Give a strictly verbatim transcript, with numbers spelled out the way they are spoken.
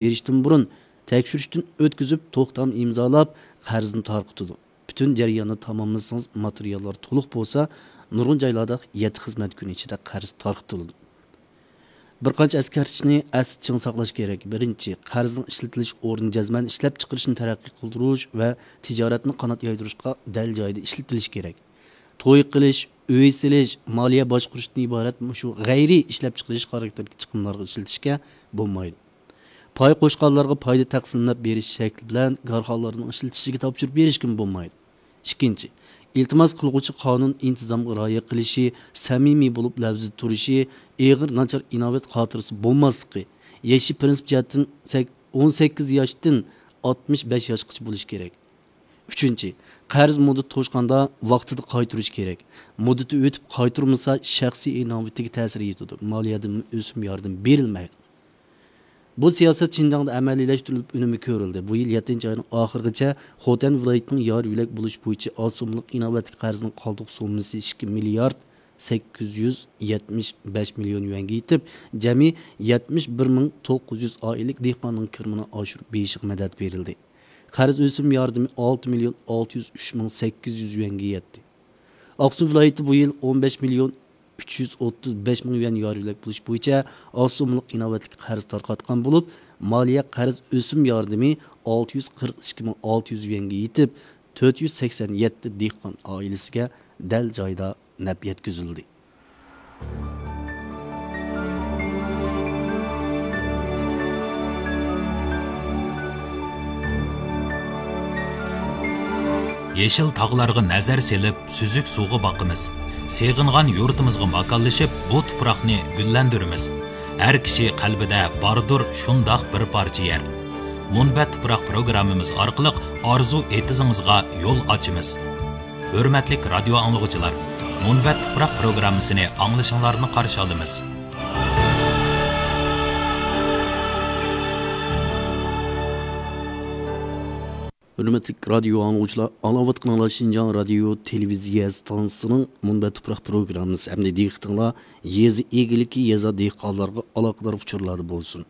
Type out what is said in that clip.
بېرىشتىن بۇرۇن تەكشۈرۈشتىن ئۆتكۈزۈپ، توختام ئىمزالاپ، قەرزنى تارقىتىدۇ. پۈتۈن جەرياننى تاماملىسىڭىز، ماتېرىياللار تولۇق بولسا، نۇرغۇن جايلاردا يەتتە خىزمەت كۈنى ئىچىدە قەرز تارقىتىلىدۇ. بىر قانچە ئەسكەرتىشنى ئەستە چىڭ ساقلاش كېرەك. بىرىنچى، قەرزنىڭ ئىشلىتىلىش ئورنى جەزمەن ئىشلەپچىقىرىشنى تەرەققىي قىلدۇرۇش ۋە تىجارەتنى قانات يايدۇرۇشقا دەل جايىدا ئىشلىتىلىشى كېرەك. توي قىلىش، ئۆي سېلىش، مالىيە باشقۇرۇشتىن ئىبارەت مۇشۇ غەيرىي ئىشلەپچىقىرىش خاراكتېرىدىكى چىقىملارغا ئىشلىتىشكە بولمايدۇ. پاي قوشقانلارغا پايدا تەقسىملەپ بېرىش شەكلى بىلەن كارخانىلارنىڭ ئىشلىتىشىگە تاپشۇرۇپ بېرىشكىمۇ بولمايدۇ. ئىككىنچى، ئىلتىماس قىلغۇچى قانۇن ئىنتىزامغا رىئايە قىلىشى، سەمىمىي بولۇپ لەۋزىدە تۇرۇشى، ئېغىر ناچار ئىناۋەت خاتىرىسى بولماسلىقى، يېشى پىرىنسىپ جەھەتتىن سەك-، ئون سەككىز ياشتىن ئاتمىش بەش ياشقىچە بولۇشى كېرەك. ئۈچىنچى، قەرز مۇددىتى توشقاندا ۋاقتىدا قايتۇرۇش كېرەك. مۇددىتى ئۆتۈپ قايتۇرمىسا، شەخسىي ئىناۋىتىگە تەسىر يېتىدۇ، مالىيەدىن ئۆسۈم ياردىمى بېرىلمەيدۇ. بۇ سىياسەت شىنجاڭدا ئەمەلىيلەشتۈرۈلۈپ، ئۈنۈمى كۆرۈلدى. بۇ يىل يەتتىنچى ئاينىڭ ئاخىرىغىچە خوتەن ۋىلايىتىنىڭ يار يۆلەك بولۇش بويىچە ئاز سوممىلىق ئىناۋەتلىك قەرزنىڭ قالدۇق سوممىسى ئىككى مىليارد سەككىز يۈز يەتمىش بەش مىليون يۈەنگە يېتىپ، جەمئىي يەتمىش بىر مىڭ توققۇز يۈز ئائىلىلىك دېھقاننىڭ كىرىمىنى ئاشۇرۇپ بېرىشىغا مەدەت بېرىلدى. قەرز ئۆسۈم ياردىمى ئالتە مىليون ئالتە يۈز ئۈچ مىڭ سەككىز يۈز يۈەنگە يەتتى. ئاقسۇ ۋىلايىتى بۇ يىل ئون بەش مىليون ئۈچ يۈز ئوتتۇز بەش مىڭ يۈەن يار يۆلەك بولۇش بويىچە ئاز سوممىلىق ئىناۋەتلىك قەرز تارقاتقان بولۇپ، مالىيە قەرز ئۆسۈم ياردىمى ئالتە يۈز قىرىق ئىككى مىڭ ئالتە يۈز يۈەنگە يېتىپ، تۆت يۈز سەكسەن يەتتە دېھقان ئائىلىسىگە دەل جايىدا نەپ يەتكۈزۈلدى. يېشىل تاغلارغا نەزەر سېلىپ، سۈزۈك سۇغا باقىمىز. سېغىنغان يۇرتىمىزغا ماكانلىشىپ، بۇ تۇپراقنى گۈللەندۈرىمىز. ھەر كىشى قەلبىدە باردۇر شۇنداق بىر پارچە يەر. مۇنبەت تۇپراق پروگراممىمىز ئارقىلىق ئارزۇ ئېتىزىڭىزغا يول ئاچىمىز. ھۆرمەتلىك رادىيو ئاڭلىغۇچىلار، مۇنبەت تۇپراق پروگراممىسىنى ئاڭلىشىڭلارنى قارشى ئالىمىز. ھۆرمەتلىك رادىيو ئاڭلىغۇچىلار، ئاڭلاۋاتقىنىڭلار شىنجاڭ رادىيو تېلېۋىزىيە ئىستانسىسىنىڭ مۇنبەت تۇپراق پروگراممىسى. ئەمدى دىققىتىڭلار يېزا ئىگىلىكى، يېزا دېھقانلارغا ئالاقىدار ئۇچۇرلاردا بولسۇن.